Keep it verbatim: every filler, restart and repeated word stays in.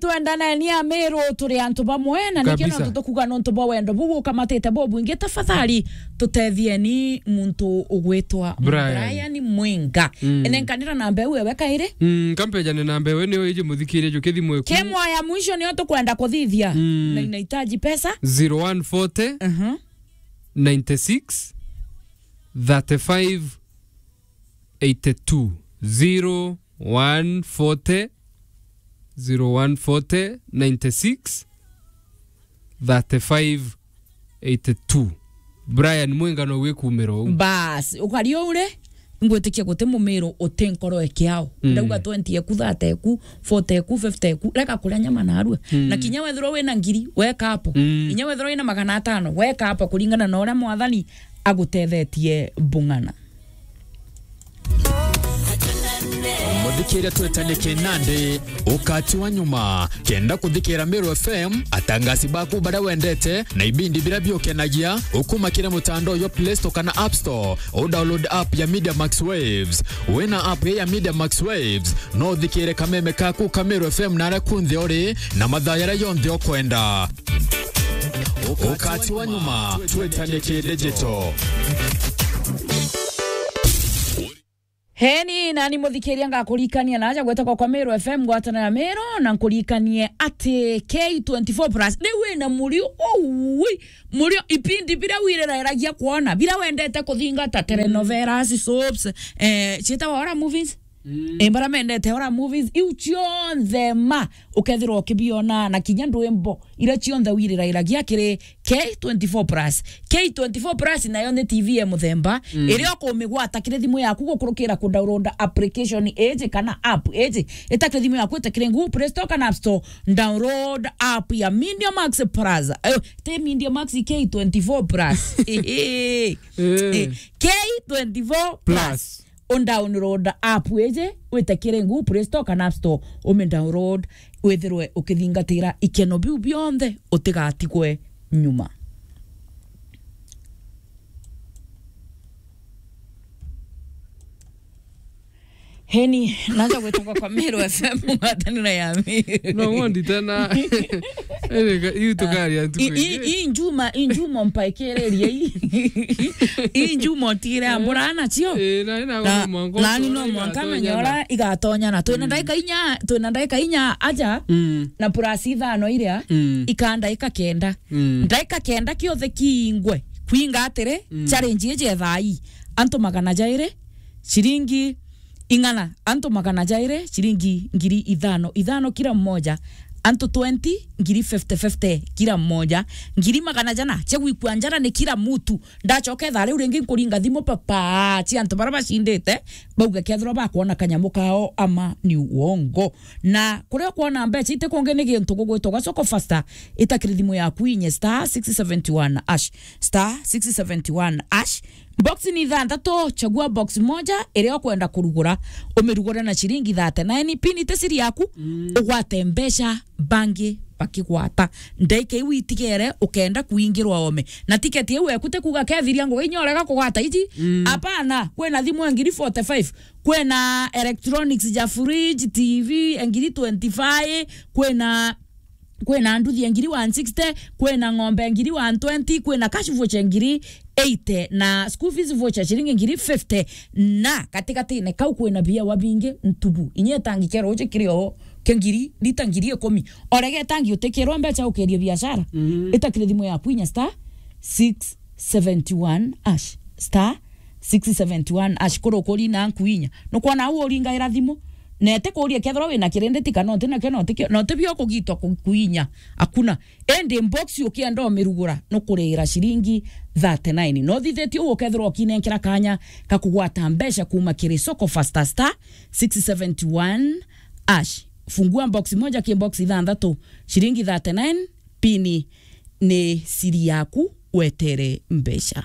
Twendane ni Amiru, turi antu bamwe, na nikio Kabisa. nontu tukuga nontu bwa wendo buu ukamatite bubwingi, tafadhali tutethieni muntu ugwitwa Brian. Brian Mwinga. Mm. Enenkanira namba iu ewe kairi. Mm, kampejane namba iu niyo iji muthikirie ju kithimo eku. Kemwa ya mwisho niyo tukwenda kuthithia. Mm. Na inahitaji pesa. Zero one forty, Mhm. ninety-six, thirty-five, eighty-two. Zero one forty, zero one forty, ninety-six, thirty-five, eighty-two. Brian Mwinga no wikumira uu. Bas, ukari uu ri, ngwitikia guti Mumiru uti nkoro ekiao. Mm. Ndauga twenty eku, thirty eku, forty eku, fifty eku, reka kuria nyama narua. Mm. Na kinya wethirwa wina ngiri, weka hapo. Mm. Kinya wethirwa wina magana atano, weka hapo kuringana na uria Mwathani agutethetie bung'ana. Muthikiria, twetanie kinandi ukati wa nyuma. Kenda kuthikira Meru F M, atangasi baku baria wendete na ibindi biria biukenagia, ukuma kiri mutandao jwa Play Store kana App Store, u download app ya Media Max Waves. Wina app ya Media Max Waves, no uthikire kameme kaku ka Meru F M naria kunthe uri na mathaa jaria jonthe ukwenda. Ukati wa nyuma, twetanie ki digital. Heni, nani muthikiria, ngakurikania naja gwetagwa kwa Meru F M, ngwatanira ya Meru, na nkurikanie ati K twenty-four plus, ni wina murio, ui, murio, ibindi biria wirirairagia kwona, biria wendete kuthingata, telenovelas, soaps, eh, cietagwa horror movies? Mm. Eh, bara mendete horror movies, iu cionthe ma, ukethirwa ukibiona, na kinya ndwimbo, iria cionthe wirirairagia kiri K twenty-four plus. K twenty-four plus nayo ni T V ya muthemba, Mm. iria ukumigwata kiri thimu yaku gukurukira ku download application iji kana app iji. Itakiri thimu yaku, itakiri Google Play Store kana App Store, download app ya Media Max Plus. Eh, ti Media Max, K twenty-four plus. Eh. Eh, K twenty-four plus. Plus. U download app iji, wite kiri Google Play Store kana App Store, ume download, withirwe ukithingatira ikeno biu bionthe, utigatigwe nyuma. Heni, naja gwetagwa kwa Meru F M, ngwatanira ya Meru. No, wondi tena. Erega, iu tukaria ntuku I, i, ingi. I njuma, i njuma mpaikiririe i. I njuma utigire ambura nacio. Eh, na, na, Na, mwanka nani utonya no mwanka igatonya menya na. Uria igatonyana. Twina Mm. ndaika inya, twina ndaika inya aja, Mm. na plus ithano iria, Mm. ikaa ndaika kenda. Mm. Ndaika kenda kiothe kiingwe. Kwinga atiri, Mm. challenge iji ya thaa ii. Antu magana jairi, ciringi ing'ana, antu magana jairi, ciringi ngiri ithano, ithano kila mmoja, antu twenty, ngiri fifty fifty kila mmoja, ngiri magana jana cia gwikua njara ni kila mtu. Ndacoka ithaa riu ringi nkuringa thimu papa, cia antu baria bacindite, bauga kethirwa bakwona kanyamu kao ama ni uongo. Na kuria ukwona mbeca iti kungi ni gintu gugwitwa Soko Faster, itakiri thimu yaku inye star six seventy one hash, star six seventy one hash, Box ni ithanthatu, chagua box moja iria ukwenda kurugura, umirugure na ciringi thirty-nine, pin ite siri yaku, Mm. ugwate mbeca bangi bakigwata. Ndaika iu itigere ukenda kuingirwa ome. Na tiketi iu eku ti kuuga kethiria ngugi inya urega kugwata iji. Mm. Apana, kwina thimu ya ngiri forty-five, kwina electronics ja fridge, T V ya ngiri twenty-five, kwina kwina nduthi ya ngiri one sixty, kwina ng'ombe ya ngiri one twenty, kwina cash voucher ya ngiri eighty, na school fees voucher ciringi ngiri fifty, na gatigatine kau kwina biawa bingi ntubu. Inya itangi kia ruuji kiri o kia ngiri, rita ngiri ikumi. Orege itangi utikirwa mbeca ukerie biashara. Mhm. Itakire thimu yaku inya star six seventy one hash, star six seventy one hash, kuru kuri na nkuinya. Nukwona au uringaira thimu, na ete kuria kethirwa wina kirindi tika, no nti nakio, no tikio, no ti bio kugitwa ku-, kuinya. Hakuna. Indi box ukienda umirugura, nukurira ciringi thirty-nine. No thithitie uu ukethirwa ukinenkera kanya ka kugwata mbeca kuma kiri Soko Faster, star six seventy one hash. Fungua box moja ki box ithanthatu, ciringi thirty-nine, pini ni siri yaku, wetere mbeca.